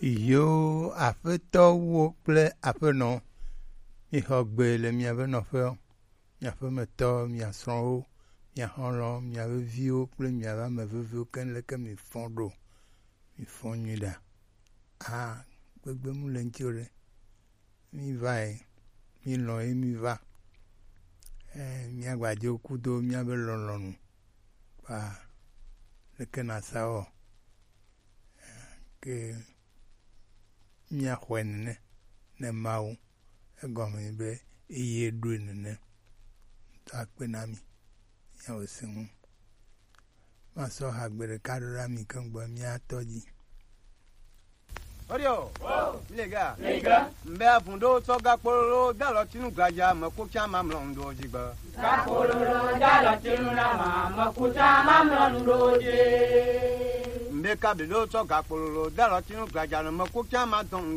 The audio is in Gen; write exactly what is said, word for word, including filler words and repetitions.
Yo, aƒetɔwo kple aƒenɔ, mixɔ gbe le miaƒe nɔƒewo, mia ƒemetɔ, mia srɔ̃wo, mia xɔlɔ̃, mia veviwo kple mia ƒe ame veviwo keŋ leke mifɔ ɖo. Mifɔ nyui ɖa. A, gbegbe mu le ŋuti o ɖe. Mi va yi, mi lɔ̃ ye mi va. Eh, mia gba dzo kudo mia be lɔlɔ̃nu. Kpa leke na sa wɔ. Eh, ke mia xɔe nene ne Mawu. Egɔme be eye ɖoe nene. Ŋutɔ akpe na mi. Miawo se ŋu. Masɔ hagbe ɖeka ɖo ɖa mi keŋ gbɔ mia tɔ dzi. Odio. Milega. Milega. Mbe avun ɖo tsɔ gakpololo dalɔ tinu gladza me ko tsa mamlɔ ŋɖo dzi gbe. Gakpololo dalɔ tinu na ma me ko tsa mamlɔ ŋɖo dzi. Mbe kabi ɖo tsɔ gakpololo dalɔ tinu gladza me ko tsa ma dɔn